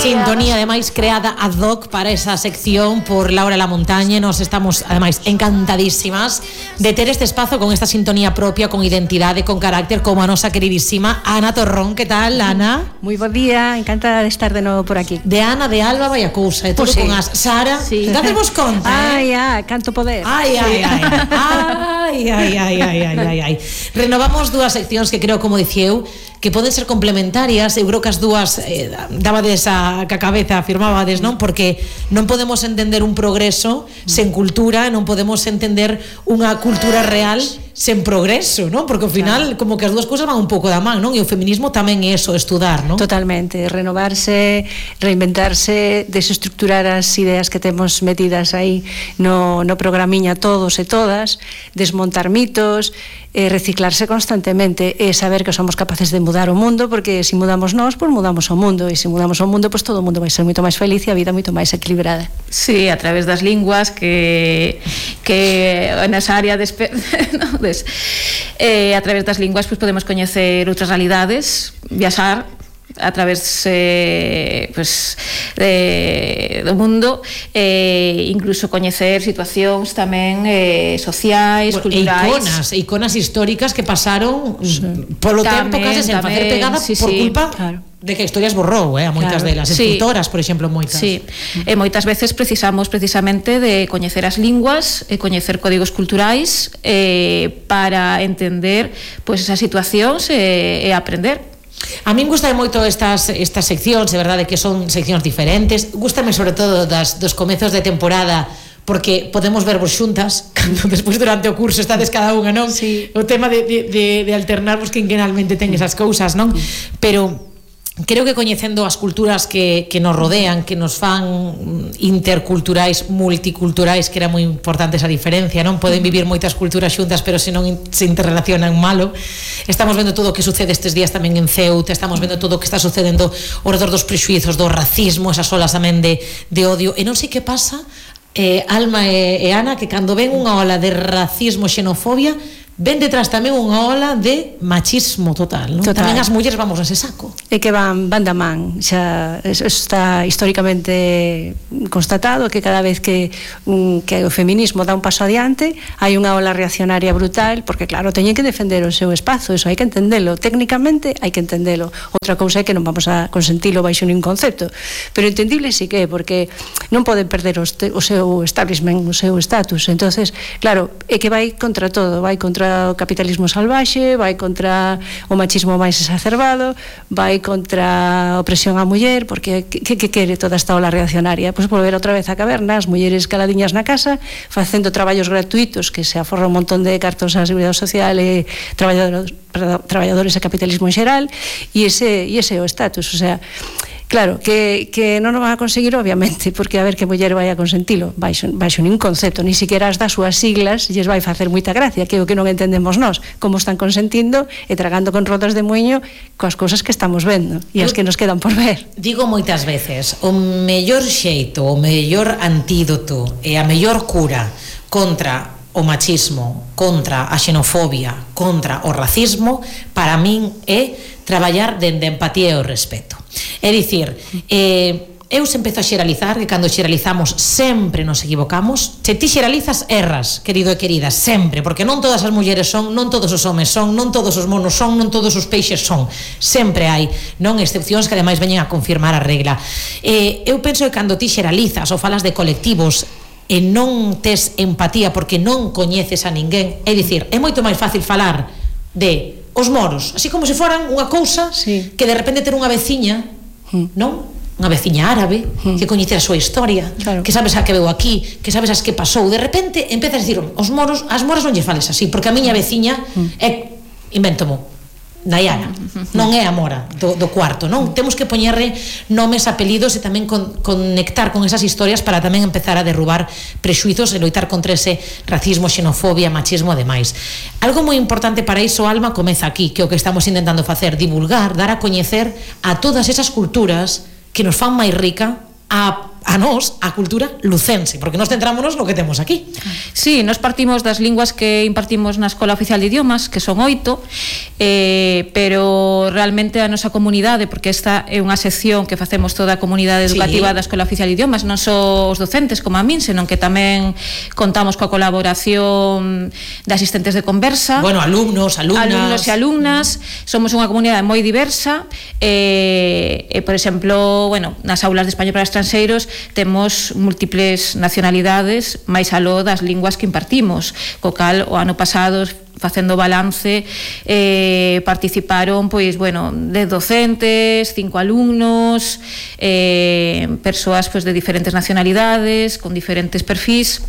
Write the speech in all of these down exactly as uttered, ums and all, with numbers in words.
Sintonía, ademais, creada ad hoc para esa sección por Laura La Montaña. Nos estamos, ademais, encantadísimas de ter este espazo con esta sintonía propia, con identidade, con carácter, como a nosa queridísima Ana Torrón. Que tal, Ana? Moi bo día, encantada de estar de novo por aquí. De Ana, de Alba, vai a cousa, e todo Pues sí. con as Sara. Sí. Dátemos conta, Ai, eh? ai, canto poder. Ai, ai, ai, ai, ai, ai, ai, ai, ai, ai. Renovamos dúas seccións que creo, como dicía eu, que poden ser complementarias. Eu creo que as dúas eh, dabades a ca cabeza, afirmábades, non? Porque non podemos entender un progreso sen cultura, non podemos entender unha cultura real sen progreso, non? Porque ao final, claro, como que as dúas cousas van un pouco da man, non? E o feminismo tamén é eso, estudar, non? Totalmente, renovarse, reinventarse, desestructurar as ideas que temos metidas aí no, no programiña todos e todas, desmontar mitos, eh, reciclarse constantemente e saber que somos capaces de mudar o mundo, porque se mudamos nós, pois mudamos o mundo, e se mudamos o mundo, pois todo o mundo vai ser moito máis feliz e a vida moito máis equilibrada. Sí, a través das linguas que que nesa área de no, des, eh, a través das linguas pois podemos coñecer outras realidades, viaxar a través eh, pues, de, do mundo, eh, incluso coñecer situacións tamén eh, sociais, bueno, culturais, iconas, iconas históricas que pasaron sí. polo tempo case sen facer pegada sí, por sí, culpa claro. de que a historia esborrou, eh, a moitas claro. delas, escritoras, sí. por exemplo, moitas. Sí, e moitas veces precisamos precisamente de coñecer as linguas e coñecer códigos culturais eh, para entender pois pues, esas situacións e, e aprender. A min gustame moito estas, estas seccións, é verdade que son seccións diferentes. Gústame sobre todo das, dos comezos de temporada, porque podemos vervos xuntas cando despois durante o curso estades cada unha, non? Sí. O tema de, de, de, de alternarvos quinquenalmente ten esas cousas, non? Pero creo que coñecendo as culturas que, que nos rodean, que nos fan interculturais, multiculturais, que era moi importante esa diferencia, non? Poden vivir moitas culturas xuntas, pero se non se interrelacionan malo. Estamos vendo todo o que sucede estes días tamén en Ceuta, estamos vendo todo o que está sucedendo ao redor dos prexuizos, do racismo, esas olas tamén de, de odio, e non sei que pasa, eh, Alma e, e Ana, que cando ven unha ola de racismo, xenofobia, ven detrás tamén unha ola de machismo total, non? Total. Tamén as mulleres vamos nese saco. É que van, van da man, xa está históricamente constatado que cada vez que, un, que o feminismo dá un paso adiante hai unha ola reaccionaria brutal, porque claro, teñen que defender o seu espazo, eso hai que entendelo, técnicamente hai que entendelo. Outra cousa é que non vamos a consentilo baixo ningún concepto, pero entendible sí que é, porque non poden perder o, este, o seu establishment, o seu status. Entonces, claro, é que vai contra todo, vai contra o capitalismo salvaxe, vai contra o machismo máis exacerbado, vai contra a opresión á muller, porque que, que quere toda esta ola reaccionaria? Pois volver outra vez á caverna, as mulleres caladiñas na casa, facendo traballos gratuitos que se aforra un montón de cartos á Seguridade Social e traballadores, perdón, traballadores e capitalismo en xeral, e ese, e ese é o status, o sea, claro, que, que non o van a conseguir obviamente, porque a ver que muller vai a consentilo baixo, baixo nin concepto, ni siquiera as das súas siglas lles vai facer moita gracia, que é o que non entendemos nós, como están consentindo e tragando con rodas de muiño coas cousas que estamos vendo e as que nos quedan por ver. Digo moitas veces, o mellor xeito, o mellor antídoto e a mellor cura contra o machismo, contra a xenofobia, contra o racismo, para min é traballar dende a empatía e o respeto. É dicir, eh, eu se empezo a xeralizar, que cando xeralizamos sempre nos equivocamos. Se ti xeralizas, erras, querido e querida, sempre, porque non todas as mulleres son, non todos os homes son, non todos os monos son, non todos os peixes son. Sempre hai, non, excepcións que ademais veñen a confirmar a regla. Eh, eu penso que cando ti xeralizas ou falas de colectivos e non tes empatía porque non coñeces a ninguén, é dicir, é moito máis fácil falar de os moros, así como se foran unha cousa, sí, que de repente ter unha veciña, mm. non? Unha veciña árabe, mm. que coñece a súa historia, claro, que sabes a que veu aquí, que sabes as que pasou, de repente empezas a dicir, os moros, as moras non lle fales así, porque a miña veciña mm. é, inventomo, Nayara, non é a mora do, do cuarto, non? Temos que poñerle nomes, apelidos e tamén con, conectar con esas historias para tamén empezar a derrubar prexuizos e loitar contra ese racismo, xenofobia, machismo e demais. Algo moi importante para iso, Alma, comeza aquí, que é o que estamos intentando facer, divulgar, dar a coñecer a todas esas culturas que nos fan máis rica, a a nós a cultura lucense, porque nós centrámonos no que temos aquí. Sí, nos partimos das linguas que impartimos na Escola Oficial de Idiomas, que son oito, eh, pero realmente a nosa comunidade, porque esta é unha sección que facemos toda a comunidade educativa sí. da Escola Oficial de Idiomas, non só os docentes como a min, senón que tamén contamos coa colaboración de asistentes de conversa, bueno, alumnos, alumnas, alumnos e alumnas, somos unha comunidade moi diversa, e, e por exemplo, bueno, nas aulas de español para estranxeiros temos múltiples nacionalidades máis aló das linguas que impartimos, co cal o ano pasado facendo balance eh, participaron pois, bueno, de docentes, cinco alumnos, eh, persoas pois, de diferentes nacionalidades, con diferentes perfis.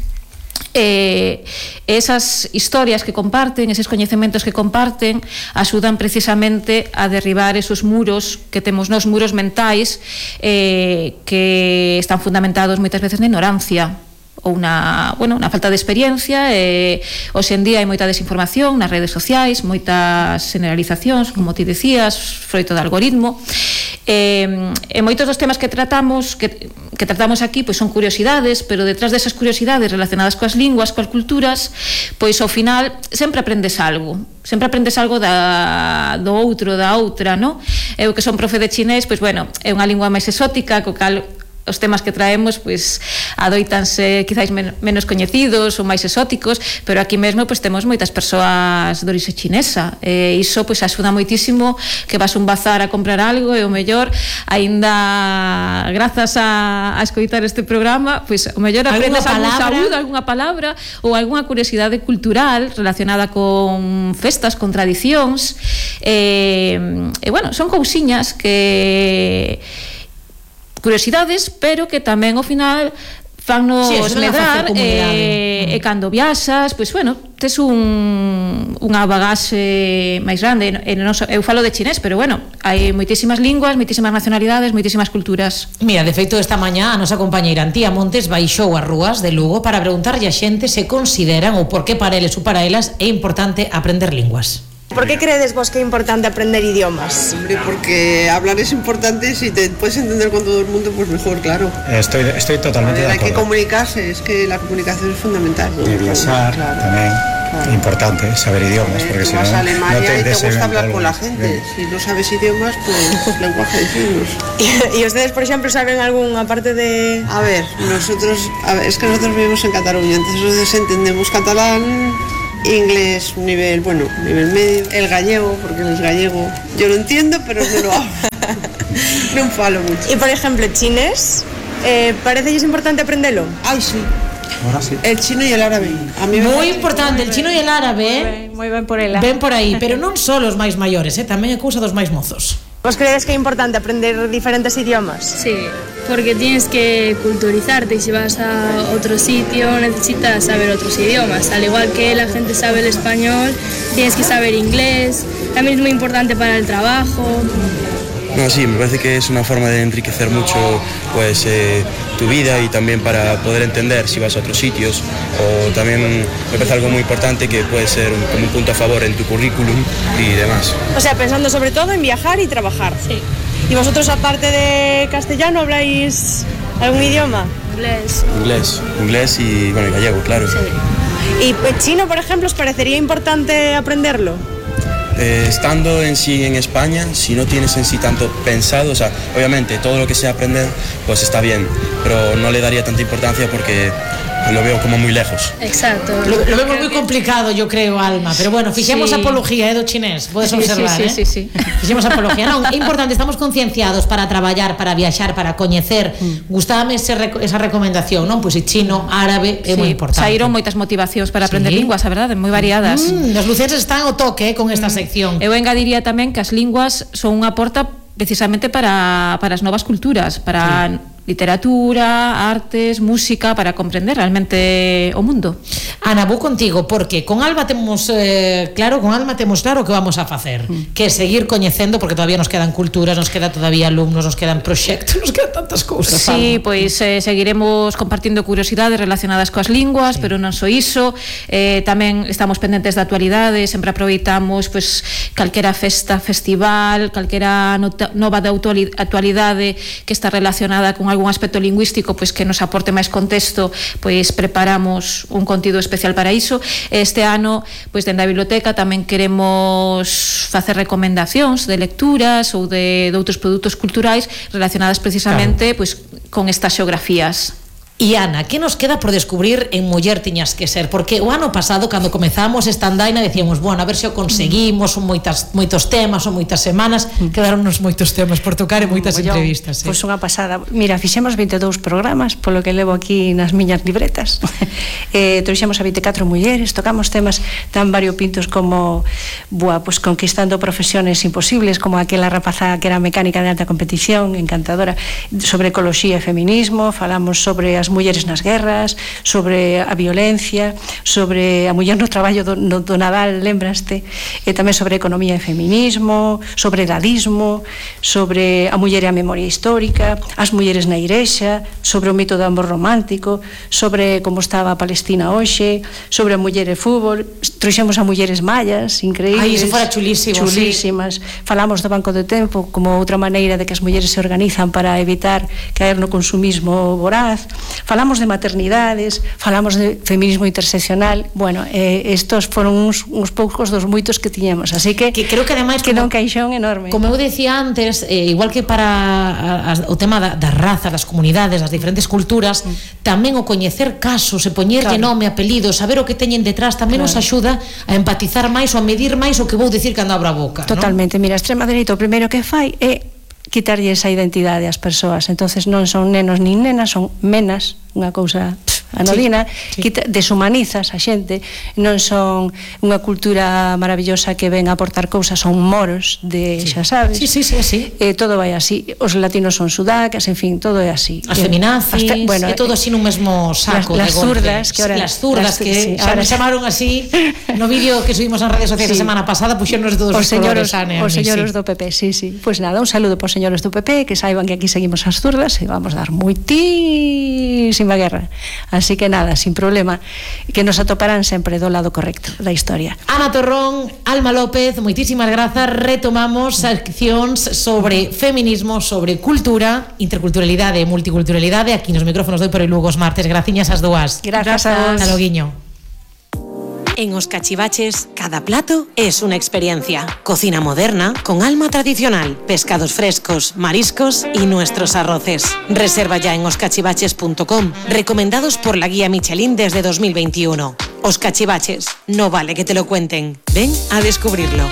Eh, esas historias que comparten, esos coñecementos que comparten axudan precisamente a derribar esos muros que temos nos muros mentais eh, que están fundamentados moitas veces na ignorancia ou na, bueno, na falta de experiencia. eh, hoxe en día hai moita desinformación nas redes sociais, moitas generalizacións, como ti decías, froito do algoritmo. Eh, e moitos dos temas que tratamos que, que tratamos aquí pois son curiosidades, pero detrás desas curiosidades relacionadas coas linguas, coas culturas, pois ao final sempre aprendes algo, sempre aprendes algo da, do outro, da outra, no? Eu que son profe de chinés, pois bueno, é unha lingua máis exótica, co cal os temas que traemos pois adoitanse quizáis men menos coñecidos ou máis exóticos, pero aquí mesmo pois temos moitas persoas de orixe chinesa, e iso pois axuda moitísimo que vas un bazar a comprar algo e o mellor aínda grazas a, a escoitar este programa pois o mellor aprendes algún saúdo, algunha palabra ou algunha curiosidade cultural relacionada con festas, con tradicións, e, e bueno, son cousiñas que curiosidades, pero que tamén ao final fannos sí, medrar e, mm. e cando viaxas, pois bueno, tes un, unha bagaxe máis grande. E non so, eu falo de chinés, pero bueno, hai moitísimas linguas, moitísimas nacionalidades, moitísimas culturas. Mira, de feito, esta mañá a nosa compañeira Antía Montes baixou as rúas de Lugo para preguntarlle a xente se consideran ou por que para eles ou para elas é importante aprender linguas. ¿Por qué crees vos que es importante aprender idiomas? Hombre, porque hablar es importante y si te puedes entender con todo el mundo, pues mejor, claro. Estoy, estoy totalmente ver, de hay acuerdo. que comunicarse, es que la comunicación es fundamental. Y viajar claro. también, claro. importante, saber idiomas, eh, porque si vas no, a Alemania no te, y te gusta hablar con la gente. Bien. Si no sabes idiomas, pues lenguaje de signos. ¿Y, ¿Y ustedes, por ejemplo, saben algún, aparte de...? A ver, nosotros, a ver, es que nosotros vivimos en Cataluña, entonces entendemos catalán, inglés, nivel, bueno, nivel medio, el gallego, porque él es gallego. Yo lo entiendo, pero no lo hablo. No falo mucho. Y por ejemplo, chinés, eh, ¿parece que es importante aprenderlo? Ay, sí. Ahora sí. El chino y el árabe. A mí Muy importante, el chino e el árabe. Moi ben por ela. Ven por aí, pero non só os máis maiores, eh, tamén é cousa dos máis mozos. ¿Vos crees que es importante aprender diferentes idiomas? Sí, porque tienes que culturizarte y si vas a otro sitio necesitas saber otros idiomas. Al igual que la gente sabe el español, tienes que saber inglés. También es muy importante para el trabajo. No, sí, me parece que es una forma de enriquecer mucho pues, eh, tu vida y también para poder entender si vas a otros sitios. O también me parece algo muy importante que puede ser un, como un punto a favor en tu currículum y demás. O sea, pensando sobre todo en viajar y trabajar. Sí. ¿Y vosotros, aparte de castellano, habláis algún idioma? Inglés. Inglés, inglés y bueno, y gallego, claro. Sí. ¿Y chino, por ejemplo, os parecería importante aprenderlo? Eh, estando en sí en España, si no tienes en sí tanto pensado, o sea, obviamente todo lo que sea aprender, pues está bien, pero no le daría tanta importancia porque lo veo como muy lejos. Exacto. Lo, lo vemos moi complicado, yo creo, Alma, pero bueno, fixemos Sí. apología eh, do chinés, podes Sí, observar, sí, eh? sí, sí, sí. Fixemos apología, non, é importante, estamos concienciados para traballar, para viaxar, para coñecer. Mm. Gustábame ese, esa recomendación, non? Pois pues, chino, árabe, é Sí, moi importante. saíron moitas motivacións para aprender Sí. linguas, a verdade, moi variadas. Mm, os lucenses están ao toque eh, con esta mm. sección. Eu engadiría tamén que as linguas son unha porta precisamente para, para as novas culturas, para sí. literatura, artes, música, para comprender realmente o mundo. Ana, vou contigo, porque con Alba temos eh, claro, con Alma temos claro o que vamos a facer, mm. que é seguir coñecendo, porque todavía nos quedan culturas, nos queda todavía alumnos, nos quedan proxectos, nos quedan tantas cousas. Sí, Alma. pois eh, seguiremos compartindo curiosidades relacionadas coas linguas, sí. pero non só iso, eh, tamén estamos pendentes da actualidade, sempre aproveitamos pois calquera festa, festival, calquera nota, nova da actualidade que está relacionada con algún aspecto lingüístico pois que nos aporte máis contexto, pois preparamos un contido especial para iso. Este ano, pois dende a biblioteca tamén queremos facer recomendacións de lecturas ou de, de outros produtos culturais relacionadas precisamente claro. pois con estas xeografías. E Ana, que nos queda por descubrir en Muller tiñas que ser? Porque o ano pasado, cando comezamos esta andaina, decíamos, bueno, a ver se o conseguimos, son moitas, moitos temas, son moitas semanas, quedaronnos moitos temas por tocar e moitas Mollón, entrevistas. Pois eh? unha pasada. Mira, fixemos vinte e dous programas, polo que levo aquí nas miñas libretas. eh, trouxemos a vinte e catro mulleres, tocamos temas tan variopintos como buah, pues, conquistando profesiones imposibles, como aquela rapaza que era mecánica de alta competición, encantadora, sobre ecoloxía e feminismo, falamos sobre as mulleres nas guerras, sobre a violencia, sobre a muller no traballo do, no, do Nadal, lembraste, e tamén sobre economía e feminismo, sobre edadismo, sobre a muller e a memoria histórica, as mulleres na igrexa, sobre o mito do amor romántico, sobre como estaba a Palestina hoxe, sobre a muller e fútbol, trouxemos a mulleres mayas, increíbles. Ai, iso fora chulísimo, chulísimas. Sí. Falamos do Banco de Tempo como outra maneira de que as mulleres se organizan para evitar caer no consumismo voraz. Falamos de maternidades, falamos de feminismo interseccional. Bueno, eh, estos foron uns, uns poucos dos moitos que tiñamos, así que, que creo que ademais queda un caixón enorme. Como eu decía antes, eh, igual que para a, a, o tema da, das razas, das comunidades, das diferentes culturas, mm. tamén o coñecer casos e poñerlle claro. nome, apelido, saber o que teñen detrás tamén claro. nos axuda a empatizar máis ou a medir máis o que vou dicir cando abro a boca. Totalmente, ¿no? Mira, a extrema dereita o primeiro que fai é quitarlle esa identidade ás persoas, entonces non son nenos nin nenas, son menas, unha cousa anodina, sí, sí. Quita, deshumanizas a xente, non son unha cultura maravillosa que ven a aportar cousas, son moros de, sí. xa sabes, sí, sí, sí, sí. Eh, todo vai así, os latinos son sudacas, en fin, todo é así. As feminazis, hasta, bueno, é todo así nun mesmo saco. Las, las zurdas, que ahora, las zurdas, las, que sí, xa ahora me chamaron así no vídeo que subimos en redes sociais sí. a semana pasada, puxéronos todos os, os colores, Ane, os señores sí. do P P, sí, sí. Pois pues nada, un saludo para os señores do P P, que saiban que aquí seguimos as zurdas e vamos dar moitísima guerra. Así que nada, sin problema, que nos atoparán sempre do lado correcto da historia. Ana Torrón, Alma López, moitísimas grazas. Retomamos seccións sobre feminismo, sobre cultura, interculturalidade e multiculturalidade aquí nos micrófonos do Por Lugo os martes. Graciñas as dúas. Grazas a vos. Hasta loguiño. En Os Cachivaches, cada plato es una experiencia. Cocina moderna con alma tradicional, pescados frescos, mariscos y nuestros arroces. Reserva ya en os cachivaches punto com, recomendados por la guía Michelin desde dos mil veintiuno. Os Cachivaches, no vale que te lo cuenten. Ven a descubrirlo.